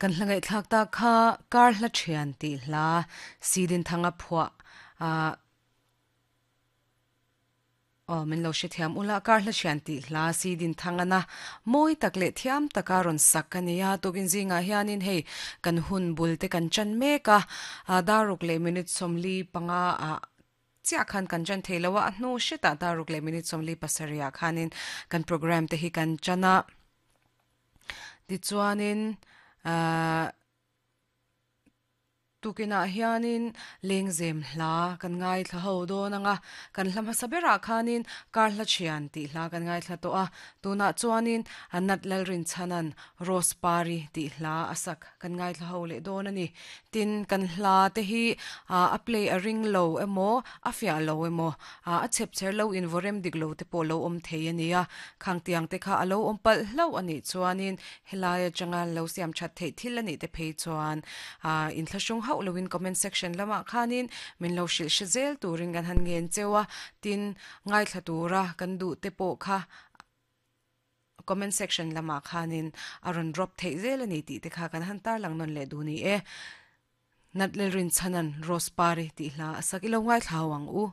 Kan hla ngaihthlak tak kha Kar hla thian tih hla Sidinthanga phuah ah Aw min lo hrethiam ula Kar hla thian tih hla Sidinthangana mawi tak leh thiam taka rawn sak a ni a, tukin zingah hianin hei kan hun bul te kan chan mek a, daruk leh minute 45 ah chiah khan kan chan thei lo a, a hnu hretah daruk leh minute 47 ah khanin kan programme te hi kan chan a. Tichuanin ahh tukinah hianin lengzem hla kan ngaithla ho dawn ang a, kan hla hmasa berah khanin kar hla thian tih hla kan ngaithla tawh a, tunah chuanin Nat Lalrinchhanan Rose Pari tih hla a sak kan ngaithla ho leh dawn a ni. Tin, kan hla te hi a play a ring lo emaw, a fiah lo emaw, a chhep chher lo in vawrem dik lo te pawh lo awm thei a ni a. Khang tiang te kha a lo awm palh hlauh a nih chuanin helai atanga lo siam that theih thil a nih te phei chuan inthlahrung hauh loin comment section lamah khanin min lo hrilh hre zel turin kan han ngen cheu a. Tin, ngaithla tura kan duh te pawh kha Comment section lamah khanin a rawn drop theih zel a ni tih te kha kan han tarlang nawn leh duh ni e. Nat Lalrinchhanan Rose Pari tih hla a sak i lo ngaithla ho ang u.